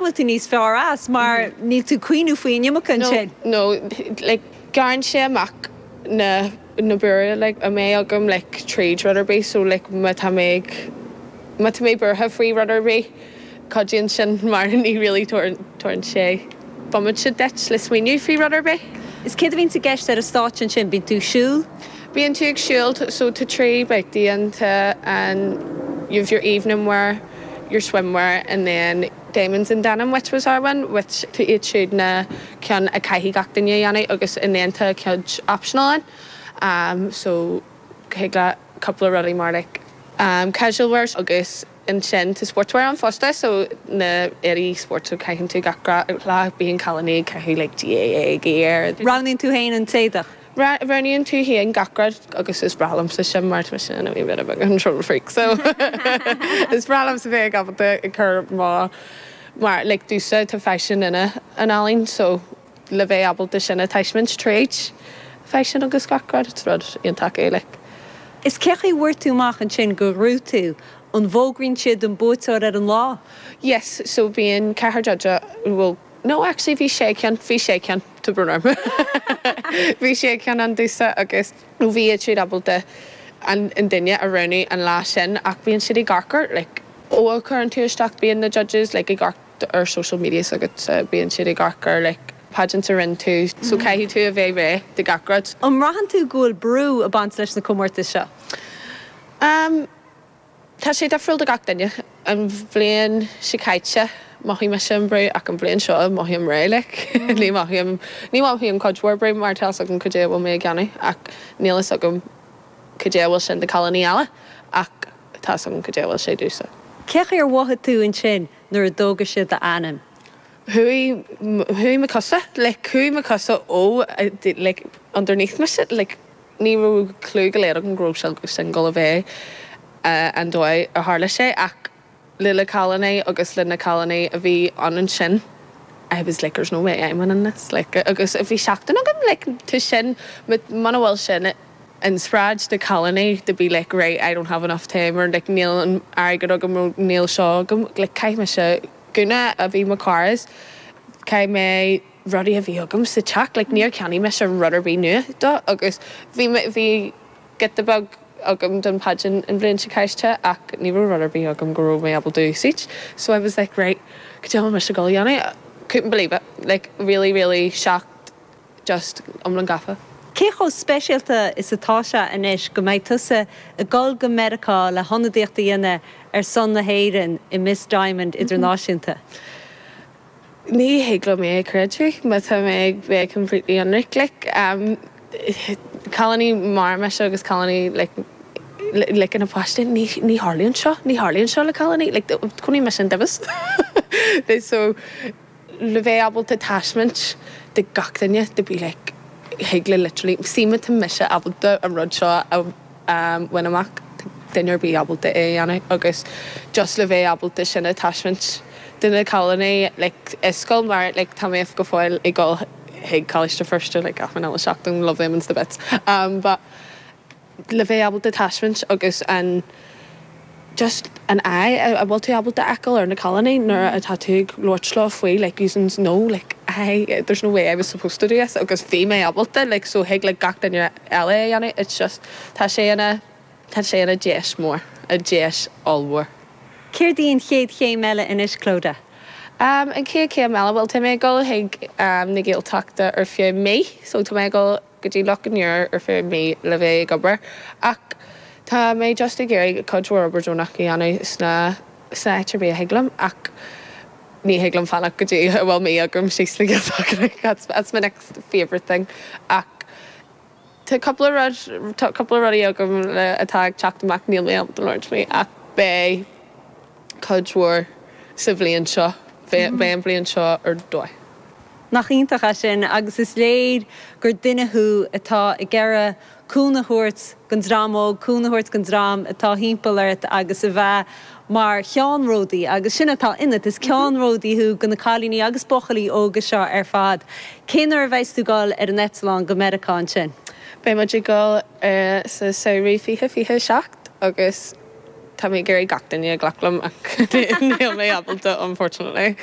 go bhfuil tú níos fearr as mar níl tú ag cuimhniú faoi an iomarca ansin. No, like gearrann sé amach na na buartha like a mbeidh agam like tríd rud ar bith so like má tá mé ag má tá mé buartha faoi rud ar bith cuidíonn sin mar ní really tabharann sé bomaite duit le smaoineamh faoi rud ar bith. Is céard a bhíonns i gceist ar an stáitse ansin? Bíonn tú ag siúl? Bíonn tú ag siúl so tá 3 babhtaí ann tá an you've your evening wear, your swimwear and then Diamonds in Denim which was our one which tá iad siúd na ceann a caithfidh gach duine a dhéanamh agus and then tá cuid optional ann so thig leat cúpla rudaí mar like casual wear agus ansin tá sportswear ann fosta so na éadaí spóirt so caitheann tú gach lá bíonn cailíní ag caitheamh like GAA gear. Roghnaíonn tú féin an t-éadach? Roghnaíonn tú féin gach rud agus is breá liomsa sin mar tá mise ina wee bit of a control freak so is breá liomsa bheith ábalta ag cur mo mar like domhsa tá faisean ina an ealaín so le bheith ábalta sin a taispeáint tríd faisean agus gach rud it's rud iontach é like. Is cé chaoi a bhfuair tú amach ansin gur ghnóthaigh tú? An bhfógraíonn siad an buaiteoir ar an lá? Yes, so bíonn ceathrar judge bhuel No actually bhí sé ceann, bhí sé ceann, tá brón orm. Bhí sé ceann ann domhsa agus nó bhí siad ábalta an an duine a roghnú an lá sin ach bíonn siad ag amharc ar like ó a chuireann tú isteach bíonn na judges like ag amharc ar social media s'agatsa bíonn siad ag amharc ar like pageants a rinne tú so caithfidh tú a bheith réidh do gach rud. An mbraitheann tú go bhfuil brú ag baint leis na comórtais seo? Um. Tá sé difriúil do gach duine. An bhliain seo caite, mhothaigh mise an brú ach an bhliain seo, mothaím réidh like. Ní mothaím, ní mothaím cuid mhór brú mar tá fhios agam cad é a bhfuil mé ag déanamh ach níl fhios agam cad é a bhfuil sin do cailíní eile ach tá fhios agam cad é a bhfuil sé domhsa. Cé chaoi ar mhothaigh tú ansin nuair a d'fhógair siad d'ainm? Chuaigh, chuaigh mo chosa, like chuaigh mo chosa ó like underneath mise like. Ní raibh clue go léir agam go raibh sé sin ag gabháil a bheith an dóigh a tharla sé ach le na cailíní agus le na cailíní a bhí ann ansin I was like there's no way I'm winning this like agus bhí seachtain agam like tá sin muna bhfuil sin inspioráid do cailíní to be like right I don't have enough time or like níl an airgead agam nó níl seo agam like chaith mise gúna a bhí mo chara chaith mé rudaí a bhí agam sa teach, like níor cheannaigh mise rud ar bith nua dó agus bhí mé, bhí giota beag agam don pageant an bhliain seo caite ach ní raibh rud ar bith agam go raibh mé ábalta úsáid so I was like right, cad é a bhfuil mise ag dul a dhéanamh? Couldn't believe it, like really really shocked, just iomlán gafa. Cé chomh speisialta is atá sé anois go mbeidh tusa ag dul go Meiriceá le hionadaíocht a dhéanamh ar son na hÉireann i Miss Diamond Idirnáisiúnta? Ní thig liom é a chreidiúint má tá mé ag bheith completely ionraic like cailíní mar mise agus cailíní like like ina páiste ní ní tharlaíonn seo ní tharlaíonn seo le cailíní like chonaic mise an daibheas so le bheith ábalta taispeáint do gach duine to be like thig le literally see má tá mise ábalta an rud seo a bhaint amach, tá duine ar bith ábalta é a dhéanamh agus just le bheith ábalta sin a taispeáint do na cailíní like i scoil mar like tá mé go fóill ag dul chuig Coláiste Feirste like achan uile seachtain love them to bits um but le bheith ábalta taispeáint agus an just an aghaidh a bhfuil tú ábalta a fheiceáil ar na cailíní nuair atá tú ag labhairt leo faoi like using no like I there's no way I was supposed to do this agus bhí mé ábalta like so thig le gach duine eile é a dhéanamh it's just tá sé ina tá sé ina deis mór a deis ollmhór. Céard í an chéad chéim eile anois Clodagh? Um an chéad chéim eile bhuel tá mé ag dul chuig um na Gaeltachta ar feadh mí so tá mé ag dul go dtí Loch an Iúir ar feadh mí le bheith ag obair ach tá mé just ag iarraidh cuid mhór obair deonach a dhéanamh sna sna áit ar bith a thig liom ach ní thig liom fanacht go dtí a bhfuil mí agam síos sna Gaeltachta that's that's my next favourite thing ach tá cúpla rud tá cúpla rudaí agam le atá ag teacht amach níl mé ábalta labhairt faoi ach beidh cuid mhór sa bhliain seo beidh an bhliain seo ar dóigh. Nach iontach é sin agus is léir gur duine thú atá ag iarraidh cúnamh a thabhairt don dream óg, cúnamh a thabhairt don dream atá thimpeall ort agus a bheith mar cheannródaí agus sin atá ionat, is ceannródaí thú do na cailíní agus buachaillí óga seo ar fad. Cén uair a bheas tú ag dul ar an eitleán go Meiriceá ansin? Beidh muid ag dul sa samhradh 2027 agus tá mé ag iarraidh gach duine a ghlac liom ach níl mé ábalta unfortunately.